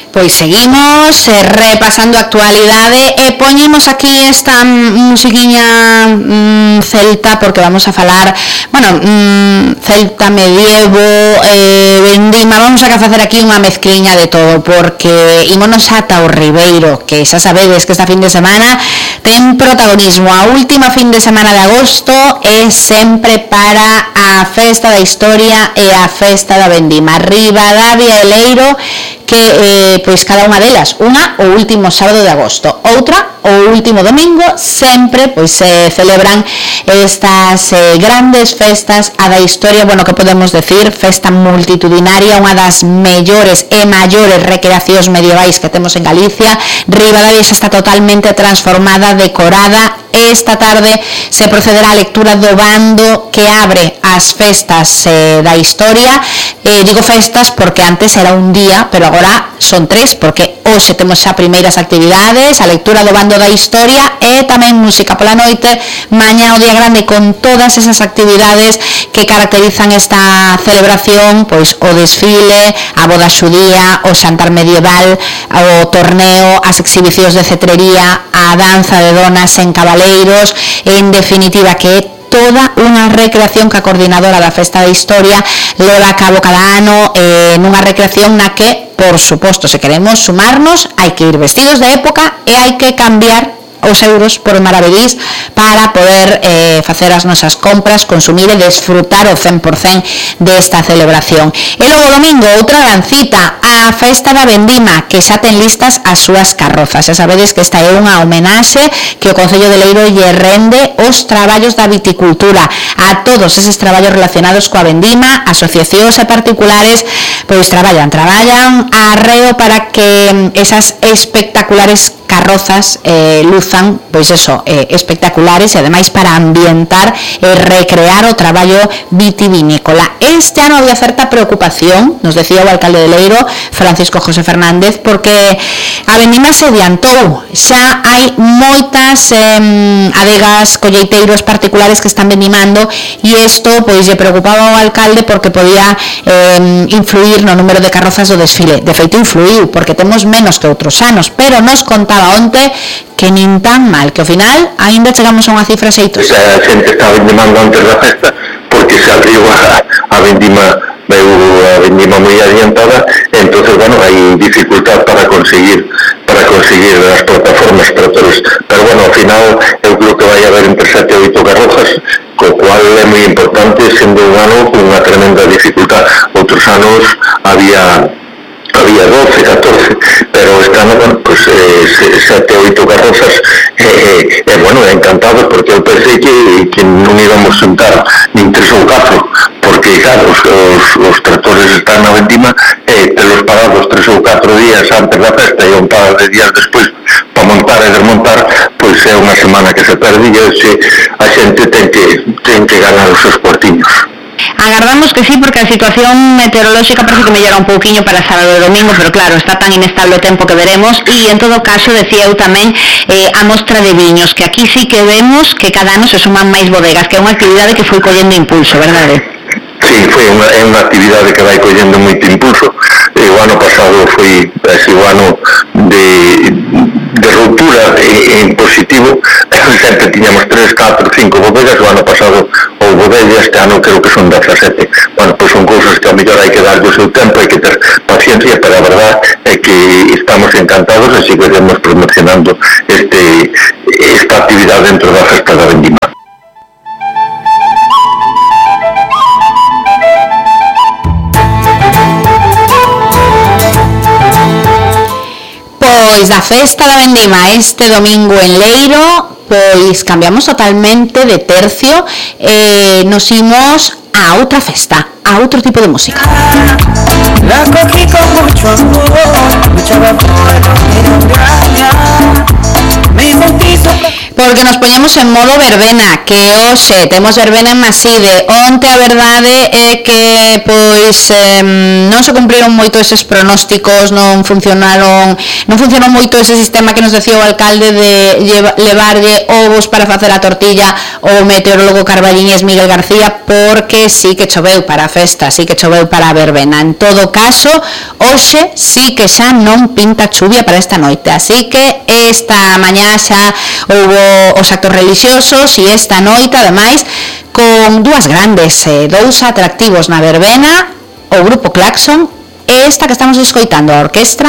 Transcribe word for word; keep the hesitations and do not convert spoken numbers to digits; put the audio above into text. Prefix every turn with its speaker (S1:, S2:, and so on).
S1: Pois seguimos eh, repasando a actualidade e poñemos aquí esta musiquiña mm, celta porque vamos a falar, bueno, mm, celta, medievo, eh, vendima, vamos a facer aquí unha mezcliña de todo porque ímonos ata o Ribeiro, que xa sabedes que esta fin de semana ten protagonismo. A última fin de semana de agosto é sempre para a festa da historia e a festa da vendima. Ribadavia e Leiro, que eh, pois cada unha delas, unha o último sábado de agosto, outra o último domingo, sempre pois se eh, celebran estas eh, grandes festas a da historia, bueno, que podemos decir, festa multitudinaria, unha das mellores e maiores recreacións medievais que temos en Galicia. Ribadavia xa está totalmente transformada, decorada. Esta tarde se procederá a lectura do bando que abre as festas eh, da historia. Eh, digo festas porque antes era un día, pero agora son tres, porque hoxe temos xa primeiras actividades, a lectura do bando da historia e tamén música pola noite, mañá o día grande con todas esas actividades que caracterizan esta celebración, pois o desfile, a boda xudía, o xantar medieval, o torneo, as exhibicións de cetrería, a danza de donas en cabaleiros, en definitiva que é toda unha recreación que a coordinadora da Festa da Historia leva a cabo cada ano, eh, nunha recreación na que, por suposto, se queremos sumarnos, hai que ir vestidos de época e hai que cambiar os euros por maravedís para poder eh, facer as nosas compras, consumir e desfrutar o cen por cento desta celebración. E logo domingo, outra gran cita, a festa da vendima, que xa ten listas as súas carrozas. Xa sabedes que esta é unha homenaxe que o Concello de Leiro lle rende os traballos da viticultura, a todos eses traballos relacionados coa vendima, asociacións e particulares, pois traballan, traballan a arreo para que esas espectaculares carrozas eh, luzan, pois eso, eh, espectaculares e ademais para ambientar e recrear o traballo vitivinícola. Este ano había certa preocupación, nos decía o alcalde de Leiro, Francisco José Fernández, porque a vendima se adiantou, xa hai moitas eh, adegas, colleiteiros particulares que están vendimando e isto pois lle preocupaba ao alcalde porque podía eh, influir no número de carrozas do desfile. De feito influiu, porque temos menos que outros anos, pero nos contaba onte que nin tan mal, que ao final ainda chegamos a unha cifra xeitosa.
S2: A xente está vendimando antes da festa porque se abriu a, a vendima, veu a vendima moi adiantada, entonces, bueno, hai dificultad para conseguir para conseguir as plataformas para todos, pero bueno, ao final eu creo que vai haber entre sete e oito carrozas, co cual é moi importante, sendo un ano con unha tremenda dificultad. Outros anos había había doce, catorce, pero este ano, bueno, pues eh, sete, oito carrozas, eh, eh, bueno, encantados, porque eu pensei que, que non íbamos sentar nin tres ou catro, porque, claro, os, os, os tractores están na vendima, eh, telos parados tres ou catro días antes da festa e un par de días despois para montar e desmontar, pois é unha semana que se perde e se a xente ten que, ten que ganar os seus cuartiños.
S1: Agardamos que sí, porque a situación meteorolóxica parece que mellora un pouquiño para sábado e domingo, pero claro, está tan inestable o tempo que veremos. E en todo caso, decía eu tamén eh, a mostra de viños, que aquí sí que vemos que cada ano se suman máis bodegas, que é unha actividade que foi collendo impulso, verdade?
S2: Sí, foi unha, é unha actividade que vai collendo moito impulso. E o ano pasado foi ese o ano de, de ruptura en, en positivo. Sempre tiñamos tres, catro, cinco bodegas. O ano pasado ou bodegas, este ano creo que son dezasete. Bueno, pois son cousas que a mellor hai que darlle o seu tempo, hai que ter paciencia, pero a verdad é que estamos encantados e seguiremos promocionando este, esta actividade dentro da festa da vendima.
S1: Pois da festa da vendima este domingo en Leiro, pois cambiamos totalmente de tercio e nos imos a outra festa, a outro tipo de música. La cogí con mucho amor, mucha vapor, me engaña, me bautizo. Pois Porque nos poñemos en modo verbena, que hoxe temos verbena en Maside. Onte a verdade é que pois eh, non se cumpriron moito eses pronósticos, non funcionaron, non funcionou moito ese sistema que nos decía o alcalde de levarlle ovos para facer a tortilla o meteorólogo carballiñés Miguel García, porque sí que choveu para a festa, sí que choveu para a verbena. En todo caso, hoxe sí que xa non pinta chuvia para esta noite, así que esta mañá xa houbo os actos religiosos e esta noite, ademais, con dúas grandes, eh, dous atractivos na verbena, o grupo Claxon e esta que estamos escoitando, a orquestra